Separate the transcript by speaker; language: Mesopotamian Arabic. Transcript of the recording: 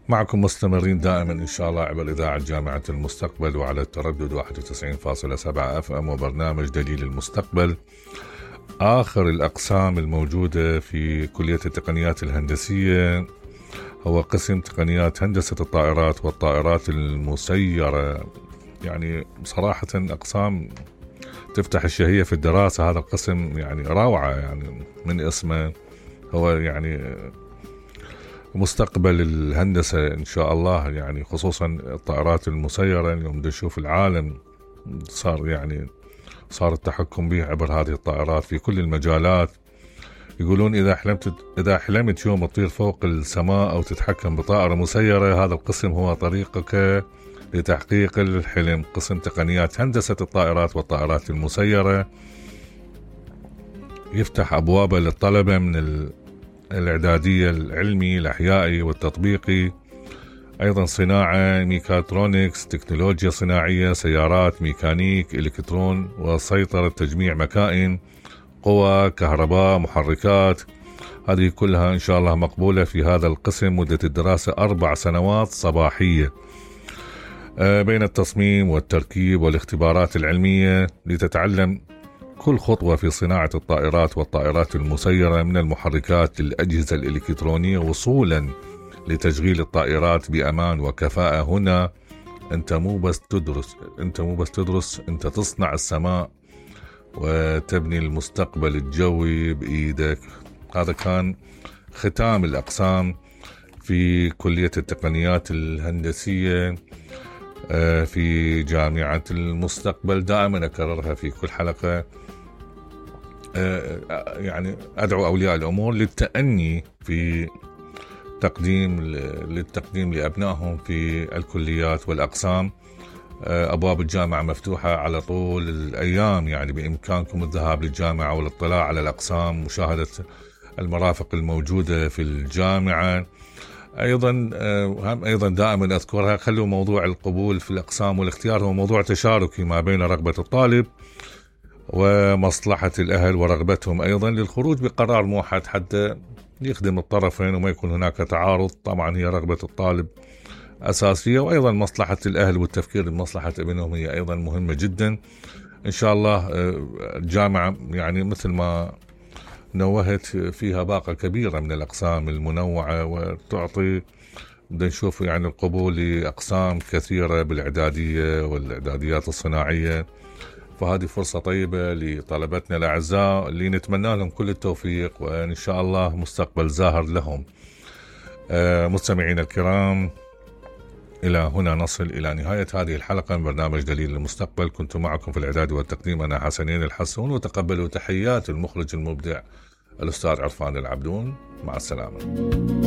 Speaker 1: معكم مستمرين دائما إن شاء الله عبر إذاعة جامعة المستقبل وعلى التردد 91.7 FM وبرنامج دليل المستقبل. آخر الأقسام الموجودة في كلية التقنيات الهندسية هو قسم تقنيات هندسة الطائرات والطائرات المسيرة. يعني صراحة أقسام تفتح الشهية في الدراسة. هذا القسم يعني روعة، يعني من اسمه هو يعني مستقبل الهندسة إن شاء الله، يعني خصوصا الطائرات المسيرة. اليوم نشوف العالم صار التحكم به عبر هذه الطائرات في كل المجالات. يقولون إذا حلمت يوم تطير فوق السماء أو تتحكم بطائرة مسيرة، هذا القسم هو طريقك لتحقيق الحلم. قسم تقنيات هندسة الطائرات والطائرات المسيرة يفتح أبوابه للطلبة من الإعدادية العلمي الأحيائي والتطبيقي، أيضا صناعة، ميكاترونكس، تكنولوجيا صناعية، سيارات، ميكانيك، إلكترون وسيطرة تجميع مكائن، قوى، كهرباء، محركات. هذه كلها إن شاء الله مقبولة في هذا القسم. مدة الدراسة 4 سنوات صباحية بين التصميم والتركيب والاختبارات العلمية، لتتعلم كل خطوة في صناعة الطائرات والطائرات المسيرة، من المحركات للأجهزة الإلكترونية وصولا لتشغيل الطائرات بأمان وكفاءة. هنا أنت مو بس تدرس، أنت تصنع السماء وتبني المستقبل الجوي بإيدك. هذا كان ختام الأقسام في كلية التقنيات الهندسية في جامعة المستقبل. دائما أكررها في كل حلقة، يعني أدعو أولياء الأمور للتأني في للتقديم لأبنائهم في الكليات والأقسام. أبواب الجامعة مفتوحة على طول الأيام، يعني بإمكانكم الذهاب للجامعة والاطلاع على الأقسام، مشاهدة المرافق الموجودة في الجامعة. أيضا دائما أذكرها، خلوا موضوع القبول في الأقسام والاختيار هو موضوع تشاركي ما بين رغبة الطالب ومصلحة الأهل ورغبتهم أيضا للخروج بقرار موحد حتى يخدم الطرفين وما يكون هناك تعارض. طبعا هي رغبة الطالب أساسية، وأيضا مصلحة الأهل والتفكير بمصلحة ابنهم هي أيضا مهمة جدا. إن شاء الله الجامعة يعني مثل ما نوهت فيها باقة كبيرة من الأقسام المنوعة، وتعطي نشوف يعني القبول لأقسام كثيرة بالإعدادية والإعداديات الصناعية. فهذه فرصة طيبة لطلبتنا الأعزاء اللي نتمنى لهم كل التوفيق، وإن شاء الله مستقبل زاهر لهم. مستمعين الكرام، إلى هنا نصل إلى نهاية هذه الحلقة من برنامج دليل المستقبل. كنت معكم في الإعداد والتقديم أنا حسنين الحسون، وتقبلوا تحيات المخرج المبدع الأستاذ عرفان العبدون. مع السلامة.